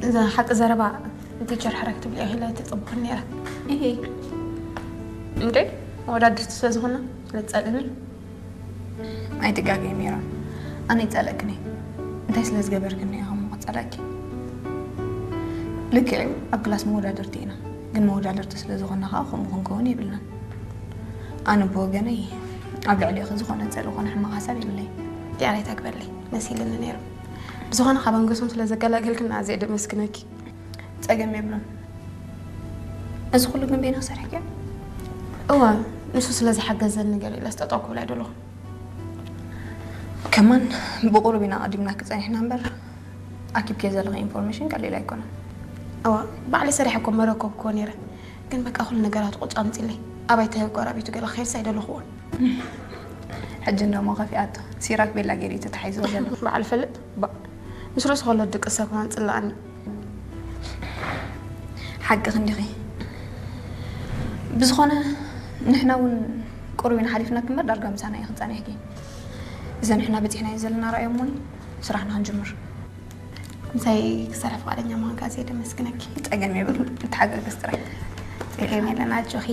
እዛ ሓቂ ዘረባ ቲቸር ሕራይ ክትብልያ ኢለ ተጸብኹ ነይረ። ይሄ እንዴ? መወዳድርቲ ስለ ዝኾና ስለ ዝጸልእኒ። ኣይትጋገይ ሜሮን፣ ኣነ ይጸለእክኒ። እንታይ ስለ ዝገበርክኒ እየ ከምኡ ክጸለእኪ? ልክዕ እዩ፣ ኣብ ክላስ መወዳድርቲ ኢና፣ ግን መወዳድርቲ ስለ ዝኾና ከዓ ከምኡ ክንከውን የብልናን። ኣነ ብወገነይ ኣብ ልዕሊኺ ዝኾነ ጸልእ ኮነ ሕማቕ ሓሳብ የብለይ። ዲኣር ኣይተግበለይ መሲልኒ ነይሩ። ብዝኾነ ካብ ኣንገሶም ስለ ዘገላገልክና ኣዝየ ደመስግነኪ። ጸገም የብሉን። እዚ ኩሉ ግን በይንኺ ሰሪሕክዮ? እወ፣ ንሱ ስለ ዝሓገዘኒ ገለ ኢለ ስጠጠው ክብል ኣይደለኹን። ከማን ብቁሩብ ኢና ቀዲምና ክጸኒሕና እምበር ኣኪብክዮ ዘለኺ ኢንፎርሜሽን ቀሊል ኣይኮነን። እወ፣ ባዕለይ ሰሪሐ እኮ መረከብክዎ ነይረ። ግን በቃ ኩሉ ነገራት ቁጭ ኣምጺለይ። ኣባይ ተጎራቢቱ ገለ ክኸይድስ ኣይደለኹዎን። ሕጂ እንደሞ ከፊኣቶ ሲራክ ቤላ ገይሩ እዩ ተታሒዝዎ ዘሎ። በዓል ፈልጥ ባ ምስ ርእሱ ከሎ ድቂ ሰብ ከማን ጽላኣኒ። ሓቂ ክንዲኺ። ብዝኾነ ንሕና እውን ቁሩብ ኢና ሓሊፍና ክምበር ዳርጋ ምሳና እዩ ክጸኒሕኪ። እዘ ንሕና በጺሕናዮ ዘለና ራእዮ እሞኒ ስራሕና ክንጅምር። ምሳይ ክሰርሕ ፍቓደኛ ምዃንካ ኣዝየ ደመስግነኪ። ጸገም የብሉ፣ ንተሓጋገዝ ጥራይ። ጸገም የለን ኣጆኺ።